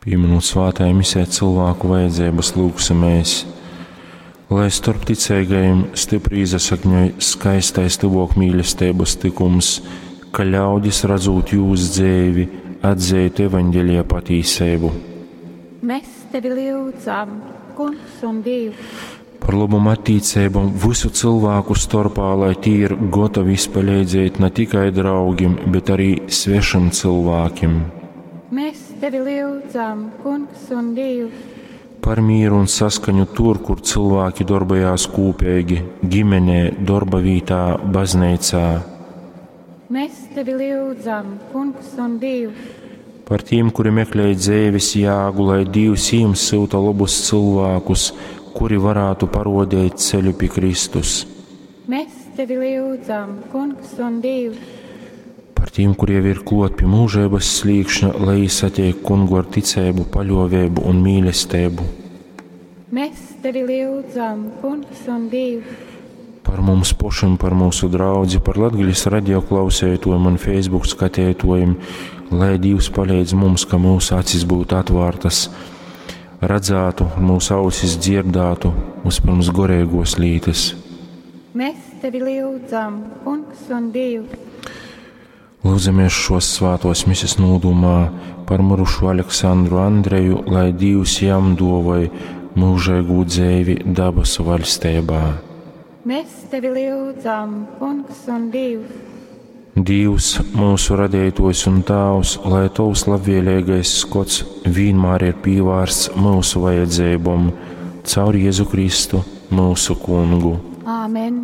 Pīminūt svātajā misē cilvēku vajadzības, lūgsimies, lai storp ticeigajiem stipri iesakņoj skaistais tyvōk mīlestības tykums, ka ļaudis, radzūt jūs dzeivi, atzeitu evaņģelija patīseibu. Mēs tevi lyudzam, Kungs un Dievs. Par lobom attīceibom vysu cilvēku storpā, lai tī ir gotovi izpaleidzēt ne tikai draugim, bet arī svešim cilvēkim. Mēs tevi lyudzam, Kungs un Dievs. Par mīru un saskaņu tur, kur cilvēki darbojās kūpīgi - ģimenē, darba vietā, baznīcā. Mēs tevi lyudzam, Kungs un Dievs. Par tiem, kuri meklē dzīves jāgu, lai Dievs jiem sūta labus cilvēkus, kuri varētu parodēt ceļu pie Kristus. Mēs tevi lyudzam, Kungs un Dievs. Par tiem, kuri jau ir klot pie mūžības slīkšņa, lai satiek kungu ar ticību, paļovēbu un mīlestību. Mēs tevi lyudzam, Kungs un Dievs. Par mums pašiem, par mūsu draudzi, par Latgales radio klausētojiem un Facebook skatētojiem, lai Dievs palīdz mums, ka mūsu acis būtu atvērtas, redzētu, mūsu ausis dzirdētu, vispirms gorēgos lītes. Mēs tevi lyudzam, Kungs un Dievs. Lūdzamies šos svētos mises nūdumā par mirušu Aleksandru Andreju, lai Dievs jam dovoj mūžēgū dzēvi dabasu vaļstībā. Mēs tevi lyudzam, Kungs un Dievs. Dievs, mūsu radītājs un Tēvs, lai Tavs labvēlīgais skots vienmēr ir pievērsts mūsu vajadzībām, caur Jēzu Kristu, mūsu Kungu. Āmen!